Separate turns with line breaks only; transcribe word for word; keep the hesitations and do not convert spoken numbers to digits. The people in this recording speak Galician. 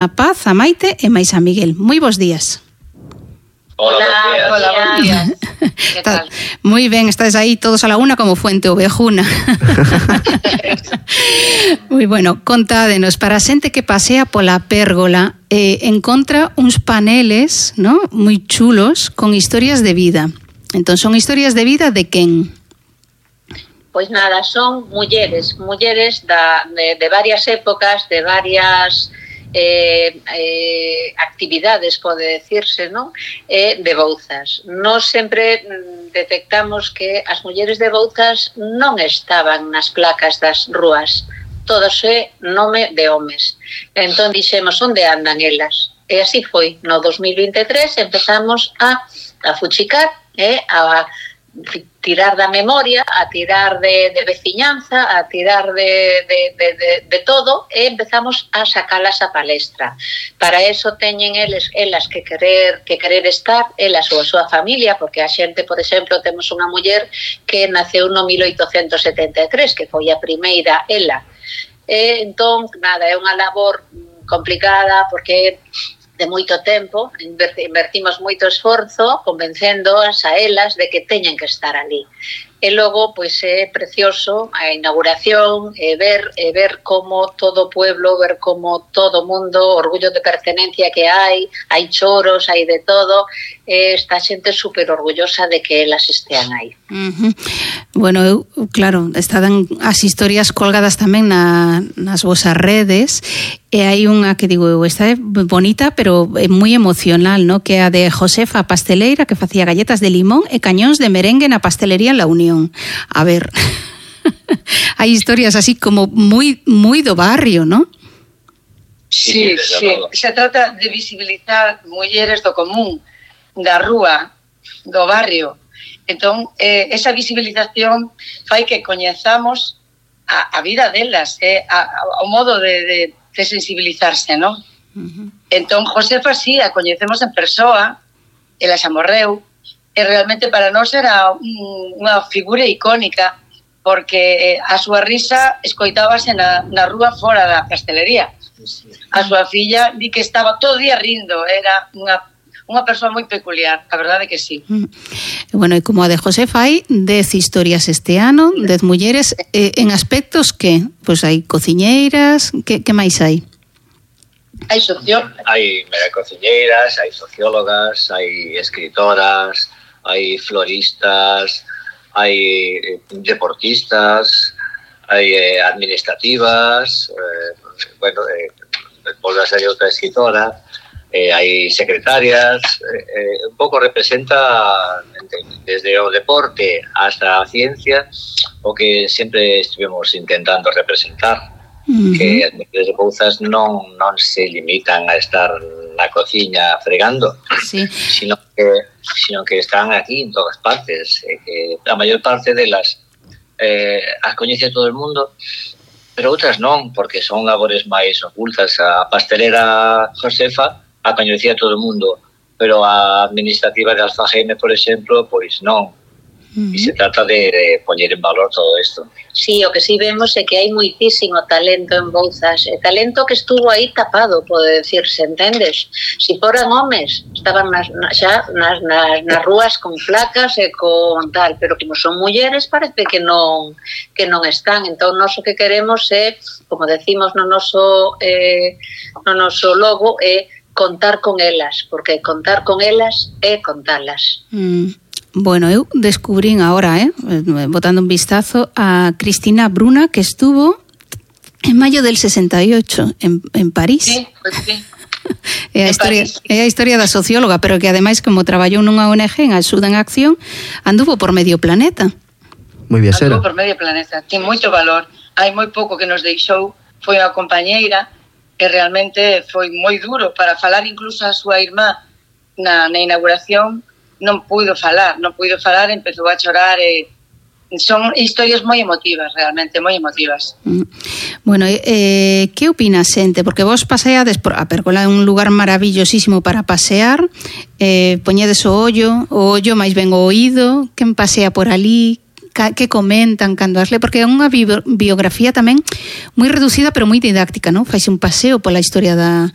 A Paz, a Maite e máis a Miguel. Moi bons días.
Hola, hola, bons días. Que tal?
Moi ben, estades aí todos a la una como Fuente Ovejuna. Moi bueno, contádenos, para a xente que pasea pola pérgola, eh, encontra uns paneles, ¿no?, moi chulos con historias de vida. Entón, son historias de vida de quen?
Pois nada, son mulleres, mulleres da, de, de varias épocas, de varias eh, eh, actividades, pode decirse, non? Eh, de Bouzas. Nos sempre detectamos que as mulleres de Bouzas non estaban nas placas das rúas, todos é nome de homes. Entón dixemos, onde andan elas? E así foi. No dos mil vinte e tres empezamos a, a fuchicar, eh, a tirar da memoria, a tirar de, de veciñanza, a tirar de, de, de, de, de todo, e empezamos a sacalas a palestra. Para eso teñen eles, elas que querer, que querer estar, elas ou a súa familia, porque a xente, por exemplo, temos unha muller que naceu no mil oitocentos setenta e tres, que foi a primeira ela. E, entón, nada, é unha labor complicada, porque de moito tempo, invertimos moito esforzo convencéndoas a elas de que teñen que estar ali. E logo, pois é precioso a inauguración, e ver, e ver como todo o pueblo, ver como todo o mundo, orgullo de pertenencia que hai, hai choros, hai de todo, e esta xente super orgullosa de que elas estean aí.
Uh-huh. Bueno, eu, claro, estaban as historias colgadas tamén na, nas vosas redes, e hai unha que digo eu, esta é bonita, pero é moi emocional, ¿no?, que é a de Josefa Pasteleira, que facía galletas de limón e cañóns de merengue na pastelería La Unión. A ver, hai historias así como moi moi do barrio, ¿no?
Sí, sí, se trata de visibilizar mulleres do común, da rúa, do barrio. Entón, eh, esa visibilización fai que coñezamos a, a vida delas, eh, a, a, o modo de, de, de sensibilizarse, ¿no? Uh-huh. Entón, Josefa, sí, a coñecemos en persoa, ela xa morreu, e realmente para nós era un, unha figura icónica, porque a súa risa escoitábase na, na rúa fora da pastelería. A súa filla di que estaba todo o día rindo, era unha unha persoa moi peculiar, a verdade que sí.
Bueno, e como a de Josefa hai dez historias este ano, dez mulleres, eh, en aspectos que? Pois hai cociñeiras, que, que máis hai?
Hai sociólogas.
Hai mera cociñeiras, hai sociólogas, hai escritoras, hai floristas, hai deportistas, hai eh, administrativas, eh, bueno, eh, volve a ser outra escritora, eh, hai secretarias, eh, eh, un pouco representa desde o deporte hasta a ciencia o que sempre estivemos intentando representar. Uh-huh. Que as mulleres de Bouzas non, non se limitan a estar na cociña fregando, sí, sino que, sino que están aquí en todas partes, eh, que a maior parte delas eh, as coñece todo o mundo, pero outras non, porque son labores máis ocultas. A pastelera Josefa a coñecía todo o mundo, pero a administrativa de Alfageme, por exemplo, pois non. Uh-huh. E se trata de, de poñer en valor todo isto.
Sí, o que sí vemos é que hai moitísimo talento en Bouzas, e talento que estuvo aí tapado, pode decirse, entendes? Si foran homes, estaban nas, xa nas, nas, nas rúas con placas e con tal, pero como son mulleres parece que non que non están. Entón, nós o que queremos é, como decimos no noso eh, no noso logo, é contar con elas, porque contar con elas é contalas.
Mm. Bueno, eu descubrín agora, eh, botando un vistazo, a Cristina Bruna, que estuvo en mayo del sesenta y ocho en, en París.
Sí, pues sí.
É a historia, é a historia da socióloga, pero que ademais, como traballou nunha O N G en Axuda en Acción, anduvo por medio planeta.
Moi viaxera.
Anduvo por medio planeta, ten moito valor. Hai moi pouco que nos deixou, foi unha compañeira que realmente foi moi duro para falar, incluso a súa irmá na, na inauguración, non puido falar, non puido falar, empezou a chorar e son historias moi emotivas, realmente, moi emotivas.
Bueno, eh, que opina xente? Porque vos paseades por a Pérgola, é un lugar maravillosísimo para pasear, eh, poñedes o ollo, o ollo máis ben o oído, quen pasea por ali, que comentan cando as le, porque é unha biografía tamén moi reducida pero moi didáctica, non? Faise un paseo pola historia da